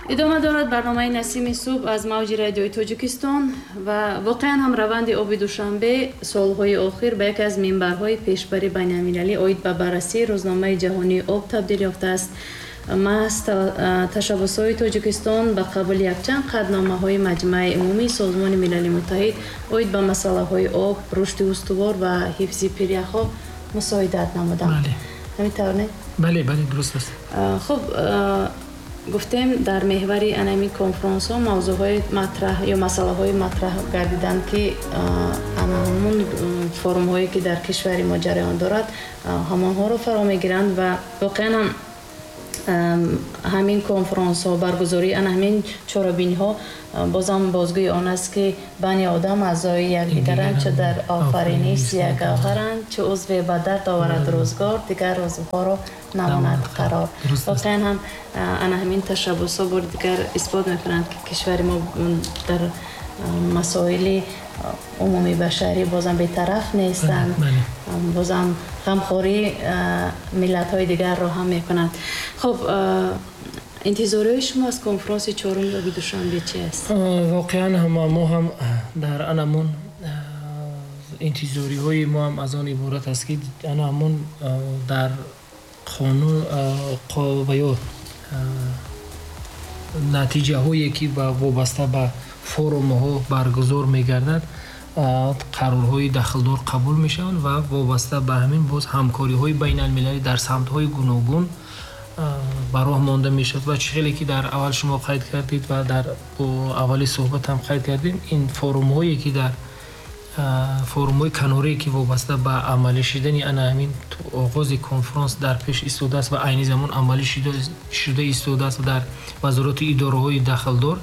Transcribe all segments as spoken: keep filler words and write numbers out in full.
Идома дорад барномаи Насими субҳ аз мавҷи радиои Тоҷикистон ва воқеан ҳам раванди оби Душанбе солҳои охир ба яке аз минбарҳои пешбари байналмилалӣ оид ба баррасии рӯзномаи ҷаҳонии об табдил ёфтааст. Маҳз ташаббусҳои Тоҷикистон ба қабули якчанд қатъномаҳои Маҷмааи Умумии Созмони Милали Муттаҳид оид ба масъалаҳои об, рушди устувор ва ҳифзи пиряхҳо мусоидат намуданд. Ҳамин тавр, не? Бале, бале, дуруст аст. Хуб, гуфтем, дар меҳвари анамин конфронсҳо мавзӯъҳои матраҳ ё масъалаҳои матраҳ гардиданд, ки ана ҳамун форумҳое, ки дар кишвари мо ҷараён дорад, ҳамонҳоро фаро мегиранд. Ва воқеан ҳам ҳамин конфронсҳо, баргузории ана ҳамин чорабиниҳо бозам бозгӯи он аст, ки бани одам аъзои якдигаранд, чу дар офариниш як гавҳаранд, чу узве ба дард оварад рӯзгор, дигар узвҳоро намонад қарор. Воқеан ҳам ана ҳамин ташаббусҳо бори дигар исбот мекунанд, ки кишвари мо дар масоили умумии башарӣ бозам бетараф нестанд, бозам ғамхории миллатҳои дигарро ҳам мекунанд. Хуб, интизориҳои шумо аз конфронси чоруми оби Душанбе чи аст? Воқеан ҳам мо ҳам дар анамон интизориҳои мо ҳам аз он иборат аст, ки ана ҳамон дар қонун ва ё натиҷаҳое, ки вобаста ба форумҳо баргузор мегардад, қарорҳои дахлдор қабул мешаванд ва вобаста ба ҳамин боз ҳамкориҳои байналмилалӣ дар самтҳои гуногун ба роҳ монда мешавад. Ва чӣ хеле ки дар аввал шумо қайд кардед ва дар аввали суҳбат ҳам қайд кардем, ин форумҳое, ки дар форумҳои канорие, ки вобаста ба амалӣ шудани ана ҳамин оғози конфронс дар пеш истодааст ва айни замон амалӣ шуда истодааст дар вазорату идораҳои дахлдор,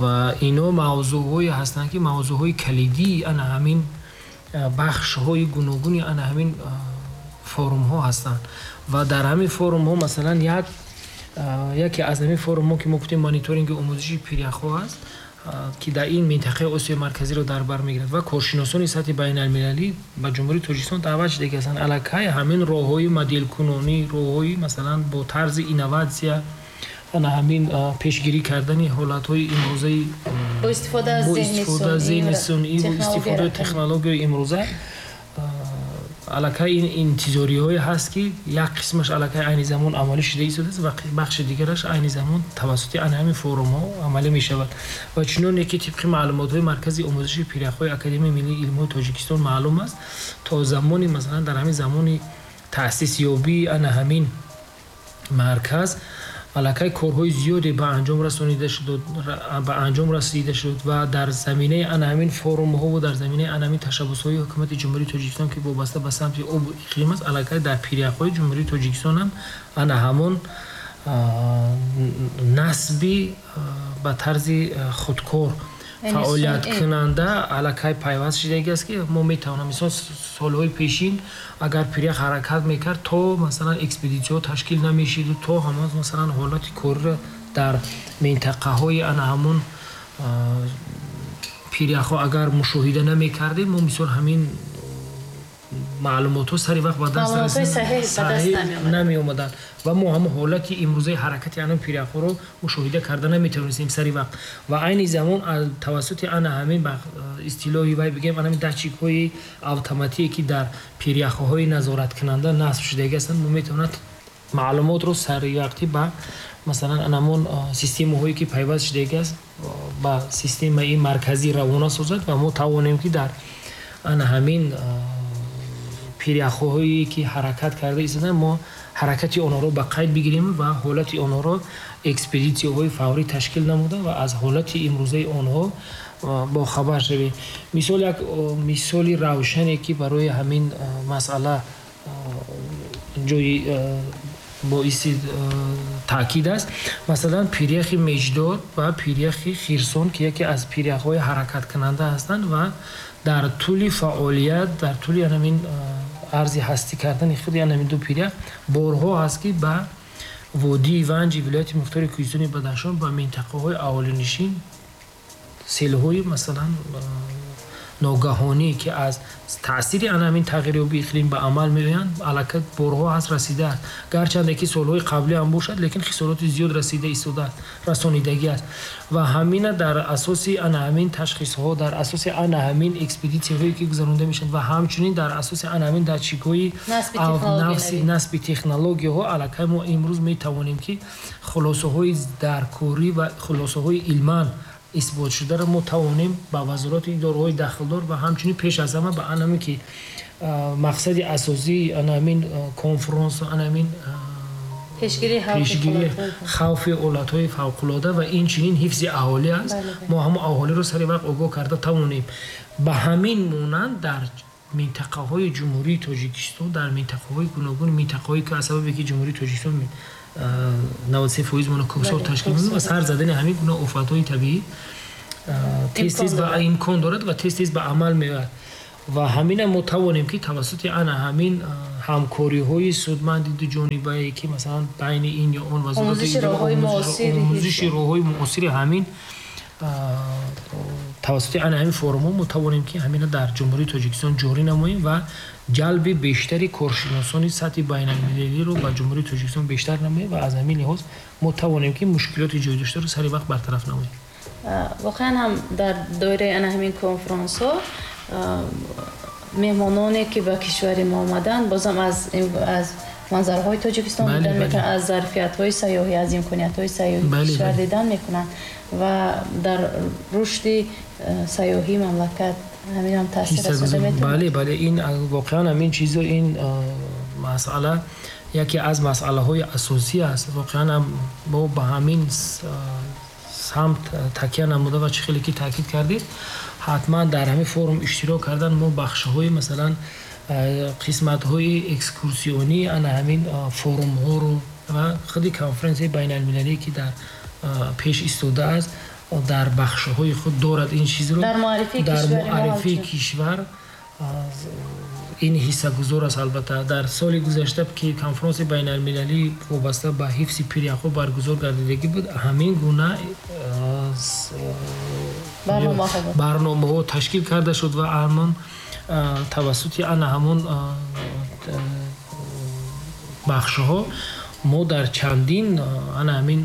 ва ино мавзӯъҳое ҳастанд, ки мавзӯъҳои калидии ана ҳамин бахшҳои гуногуни ана ҳамин форумҳо ҳастанд. Ва дар ҳамин форумҳо, масалан, як яке аз ҳамин форумҳо, ки мо гуфтем, мониторинги омӯзиши пиряхҳо аст, ки дар ин минтақаи Осиёи Марказиро дар бар мегирад ва коршиносони сатҳи байналмилалӣ ба Ҷумҳурии Тоҷикистон даъват шуда ки ҳастанд. Аллакай ҳамин роҳҳои моделкунонӣ, роҳҳои, масалан, бо тарзи инноватсия ана ҳамин пешгирӣ кардани ҳолатҳои имрӯзаи бо истифода аз бо истифода аз зеҳни сунъӣ, бо истифодаи технологияи имрӯза, аллакай ин интизориҳое ҳаст, ки як қисмаш аллакай айни замон амалӣ шуда истодааст ва бахши дигараш айни замон тавассути ана ҳамин форумҳо амалӣ мешавад. Ва чуноне ки тибқи маълумотҳои Маркази омӯзиши пиряхҳои Академияи миллии илмҳои Тоҷикистон маълум аст, то замони, масалан, дар ҳамин замони таъсисёбии ана ҳамин марказ аллакай корҳои зиёде ба анҷом расонида шуд, ба анҷом расида шуд ва дар заминаи ана ҳамин форумҳо ва дар заминаи ана ҳамин ташаббусҳои ҳукумати Ҷумҳурии Тоҷикистон, ки вобаста ба самти обу иқлим аст, аллакай дар пиряхҳои Ҷумҳурии Тоҷикистон ҳам ана ҳамон насби ба тарзи худкор фаъолияткунанда аллакай пайваст шудагӣ аст, ки мо метавонам, мисол, солҳои пешин агар пирях ҳаракат мекард, то, масалан, экспедитсияҳо ташкил намешиду то ҳамон, масалан, ҳолати корро дар минтақаҳои ана ҳамон пиряхҳо агар мушоҳида намекардем, мо, мисол, ҳамин маълумотҳо сари вақт ба даст намеомаданд ва мо ҳамон ҳолати имрӯзаи ҳаракати ана пиряхҳоро мушоҳида карда наметавонистем сари вақт. Ва айни замон тавассути ана ҳамин, истилоҳи вай бигем, ана ҳамин датчикҳои автоматие, ки дар пиряхҳои назораткунанда насб шудагӣ ҳастанд, мо метавонад маълумотро саривақтӣ ба, масалан, ана ҳамон системаҳое, ки пайваст шудагӣ аст, ба системаи марказӣ равона созад ва мо тавонем, ки дар ана ҳамин пиряхҳое, ки ҳаракат карда истодаанд, мо ҳаракати онҳоро ба қайд бигирем ва ҳолати онҳоро экспедитсияҳои фаврӣ ташкил намуда ва аз ҳолати имрӯзаи онҳо бохабар шавем. Мисол, як мисоли равшане, ки барои ҳамин масъала ҷои боиси таъкид аст, масалан, пиряхи Меҷдор ва пиряхи Хирсон, ки яке аз пиряхҳои ҳаракаткунанда ҳастанд ва дар тӯли фаъолият, дар тӯли ҳамин арзи ҳастӣ кардани худи ҳамин ду пирях борҳо ҳаст, ки ба водии Ванҷи вилояти мухтори Кӯҳистони Бадахшон, ба минтақаҳои аҳолинишин селҳои, масалан, ногаҳонӣ, ки аз таъсири ана ҳамин тағйирёбии иқлим ба амал меоянд, аллакай борҳо ҳаст расидааст. Гарчанде ки солҳои қаблӣ ҳам бошад, лекин хисороти зиёд расида истодааст, расонидагӣ аст. Ва ҳамина дар асоси ана ҳамин ташхисҳо, дар асоси ана ҳамин экспедитсияҳое ки гузаронида мешаванд ва ҳамчунин дар асоси ана ҳамин датчикҳои насби технологияҳо, аллакай мо имрӯз метавонем ки хулосаҳои даркорӣ ва хулосаҳои илман исбот шударо мо тавонем ба вазорати идораҳои дахлдор ва ҳамчунин пеш аз ҳама ба анаме ки мақсади асосии анамин конфронс, анамин пешгирии хавфи ҳолатҳои фавқулода ва инчунин ҳифзи аҳолӣ аст, мо ҳамон аҳолиро сари вақт огоҳ карда тавонем. Ба ҳамин монанд дар минтақаҳои Ҷумҳурии Тоҷикистон, дар минтақаҳои гуногун, минтақаҳое ки аз сабабе ки Ҷумҳурии Тоҷикистон навад се фоиз моно кӯҳсор ташкил мекунад ва сар задани ҳамин гуна офатҳои табиӣ тез тез ба имкон дорад ва тез тез ба амал меояд. Ва ҳамина мо тавонем ки тавассути ана ҳамин ҳамкориҳои судманди дуҷонибае ки масалан байни ин ё он вазорати омӯзиши роҳҳои муосири ҳамин тавассути ана ҳамин форумҳо мо тавонем ки ҳамина дар Ҷумҳурии Тоҷикистон ҷорӣ намоем ва ҷалби бештари коршиносони сатҳи байналмилалиро ба Ҷумҳурии Тоҷикистон бештар намоем ва аз ҳамин лиҳоз мо тавонем ки мушкилоти ҷой доштаро сари вақт бартараф намоем. Воқеан ҳам дар доираи ана ҳамин конфронсҳо меҳмононе ки ба кишвари мо омаданд, бозам аз аз манзараҳои Тоҷикистон дидан мекунанд, аз зарфиятҳои сайёҳӣ, аз имкониятҳои сайёҳии кишвар дидан мекунанд ва дар рушди сайёҳии мамлакат ҳамин ҳам таъсир расонда метавонад. Бале, бале, ин воқеан ҳамин чизо, ин масъала яке аз масъалаҳои асосӣ аст. Воқеан ҳам мо ба ҳамин самт такя намуда ва чӣ хеле ки таъкид кардед, ҳатман дар ҳамин форум иштирок кардан мо бахшҳои масалан қисматҳои экскурсионӣ ана ҳамин форумҳоро ва худи конференсияи байналмилалие ки дар пеш истодааст дар бахшҳои худ дорад ин чизро дар муаррифии кишвар ин ҳиссагузор аст. Албатта дар соли гузашта ки конфронси байналмилалӣ вобаста ба ҳифзи пиряхҳо баргузор гардидагӣ буд, ҳамин гуна барномаҳо ташкил карда шуд ва ҳамон тавассути ана ҳамон бахшҳо мо дар чандин ана ҳамин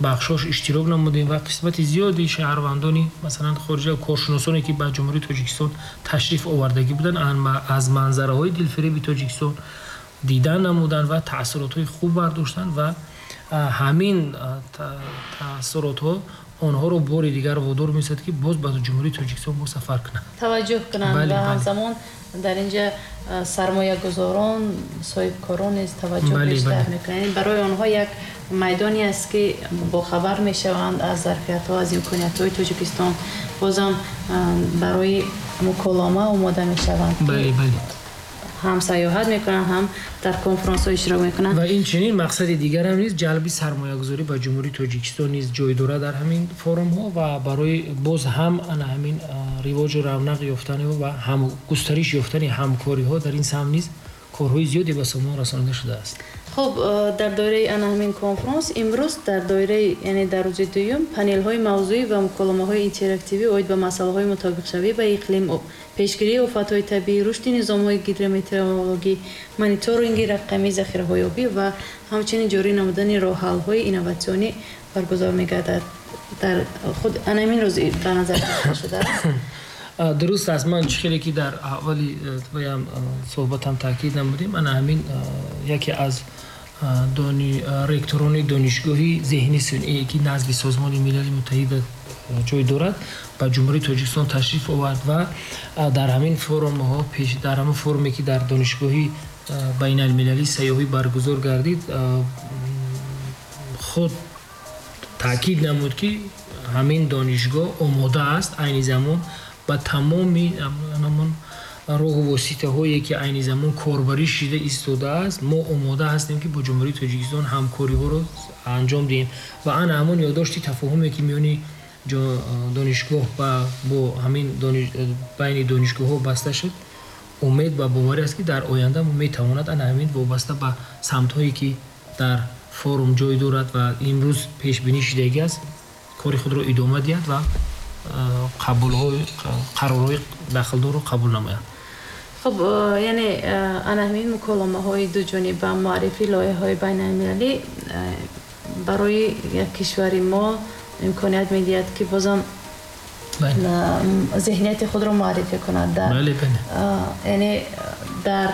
бахшҳош иштирок намудем ва қисмати зиёди шаҳрвандони масалан хориҷа коршиносоне ки ба Ҷумҳурии Тоҷикистон ташриф овардагӣ буданд аз манзараҳои дилфиреби Тоҷикистон дидан намуданд ва таъсиротҳои хуб бардоштанд ва ҳамин таъсиротҳо онҳоро бори дигар водор месозад ки боз ба Ҷумҳурии Тоҷикистон боз сафар кунанд, таваҷҷӯҳ кунанд ва ҳамзамон дар инҷа сармоягузорон, соҳибкорон низ таваҷҷӯҳ бештар мекунанд. Барои онҳо як майдоне аст ки бохабар мешаванд аз зарфиятҳо, аз имкониятҳои Тоҷикистон, бозам барои муколома омода мешаванд. Бале, бале. Ҳам сайёҳат мекунанд, ҳам дар конфронсҳо иштирок мекунанд. Ва инчунин мақсади дигарам низ ҷалби сармоягузорӣ ба Ҷумҳурии Тоҷикистон низ ҷой дорад дар ҳамин форумҳо ва барои боз ҳам ана ҳамин ривоҷу равнақ ёфтани ва ҳам густариш ёфтани ҳамкориҳо дар ин самт низ корҳои зиёде ба сомон расонида шудааст. Хуб, дар доираи ана ҳамин конфронс имрӯз дар доираи, яъне дар рӯзи дуюм, панелҳои мавзӯӣ ва муколомаҳои интерактивӣ оид ба масъалаҳои мутобиқшавӣ ба иқлим, пешгирии офатҳои табиӣ, рушди низомҳои гидрометеорологӣ, мониторинги рақамии захираҳои обӣ ва ҳамчунин ҷорӣ намудани роҳҳалҳои инноватсионӣ баргузор мегардад. Дар худ ана ҳамин рӯз ба назар гирифта шудааст. Дуруст аст. Ман чӣ хеле ки дар аввали баям суҳбатам таъкид намудем, ана ҳамин яке аз ректорони донишгоҳи зеҳни сунъие ки назди Созмони Милали Муттаҳида ҷой дорад ба Ҷумҳурии Тоҷикистон ташриф овард ва дар ҳамин форумҳо, дар ҳамин форуме ки дар донишгоҳи байналмилалии сайёҳӣ баргузор гардид, худ таъкид намуд ки ҳамин донишгоҳ омода аст айни замон ба тамоми ҳамон роҳу воситаҳое ки айни замон корбарӣ шида истодааст, мо омода ҳастем ки бо Ҷумҳурии Тоҷикистон ҳамкориҳоро анҷом диҳем ва ана ҳамон ёддошти тафоҳуме ки миёни донишгоҳ ва бо ҳамин байни донишгоҳҳо баста шуд, умед ва боварӣ аст ки дар оянда метавонад ана ҳамин вобаста ба самтҳое ки дар форум ҷой дорад ва имрӯз пешбинӣ шудагӣ аст, кори худро идома диҳад ва қабулҳои қарорҳои дахлдорро қабул намоянд. Хуб, яъне ана ҳамин муколамаҳои дуҷониба, муаррифии лоиҳаҳои байналмилалӣ барои як кишвари мо имконият медиҳад, ки бозам зеҳнияти худро муаррифӣ кунад, яъне дар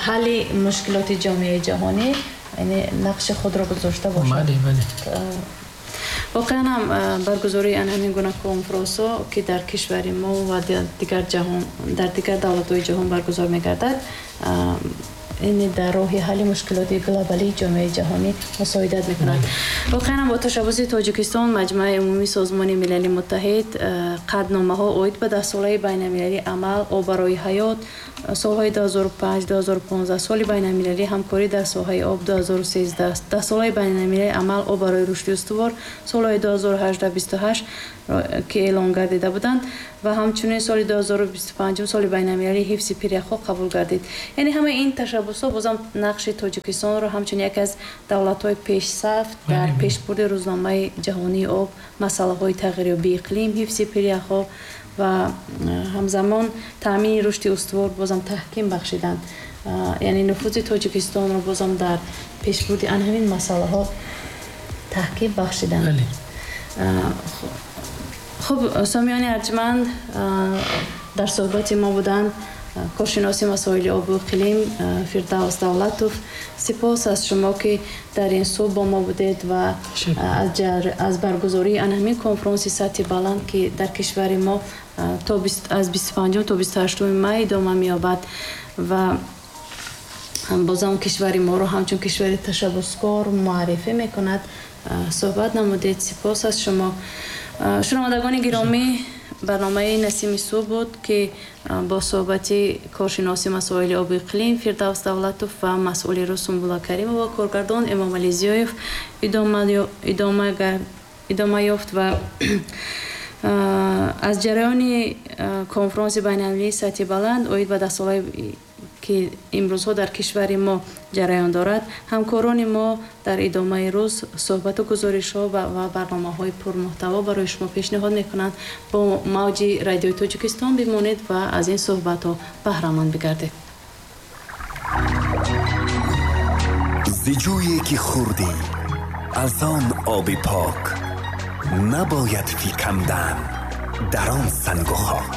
ҳалли мушкилоти ҷомеаи ҷаҳонӣ яъне нақши худро гузошта бошад. Воқеан ҳам баргузории ҳамин гуна конференсҳо, ки дар кишвари мо ва дигар ҷаҳон, дар дигар давлатҳои ҷаҳон баргузор мегардад, яъне дар роҳи ҳалли мушкилоти глобалии ҷомеаи ҷаҳонӣ мусоидат мекунад. Воқеан ҳам бо ташаббуси Тоҷикистон Маҷмааи Умумии Созмони Милали Муттаҳид қатъномаҳо оид ба даҳсолаи байналмилалии амал об барои ҳаёт солҳои ду ҳазору панҷ ду ҳазору понздаҳ, соли байналмилалии ҳамкорӣ дар соҳаи об ду ҳазору сездаҳ, даҳсолаи байналмилалии амал об барои рушди устувор солҳои ду ҳазору ҳаждаҳ бисту ҳашт ки эълон гардида буданд ва ҳамчунин соли ду ҳазору бисту панҷум соли байналмилалии ҳифзи пиряхҳо қабул гардид. Яъне ҳамаи ин ташаббусҳо бозам нақши Тоҷикистонро ҳамчун яке аз давлатҳои пешсаф дар пешбурди рӯзномаи ҷаҳонии об, масъалаҳои тағйирёбии иқлим, ҳифзи пиряхҳо ва ҳамзамон таъмини рушди устувор бозам таҳким бахшиданд. Яъне нуфузи Тоҷикистонро бозам дар пешбурди ан ҳамин масъалаҳо таҳким бахшиданд. Хуб, сомиёни арҷманд, дар суҳбати мо буданд коршиноси масоили обу иқлим Фирдавс Давлатов. Сипос аз шумо, ки дар ин субҳ бо мо будед ва аз баргузории ан ҳамин конфронси сатҳи баланд, ки дар кишвари мо то аз бисту панҷум то бисту ҳаштуми май идома меёбад ва бозам кишвари моро ҳамчун кишвари ташаббускор муаррифӣ мекунад, суҳбат намудед. Сипос аз шумо. Шунавандагони гиромӣ, барномаи Насими субҳ буд, ки бо суҳбати коршиноси масоили обу иқлим Фирдавс Давлатов ва масъули рӯз Сумбула Каримова, коргардон Эмомалӣ Зиёев идома ёфт ва аз ҷараёни конфронси байналмилалии сатҳи баланд оид ба даҳсолаи ки имрӯзҳо дар кишвари мо ҷараён дорад, ҳамкорони мо дар идомаи рӯз суҳбату гузоришҳо ва барномаҳои пурмуҳтаво барои шумо пешниҳод мекунанд. Бо мавҷи радиои Тоҷикистон бимонед ва аз ин суҳбатҳо баҳраманд бигардед. Зи ҷӯе ки хӯрдӣ аз он оби пок, набояд фикандан дар он сангу хок.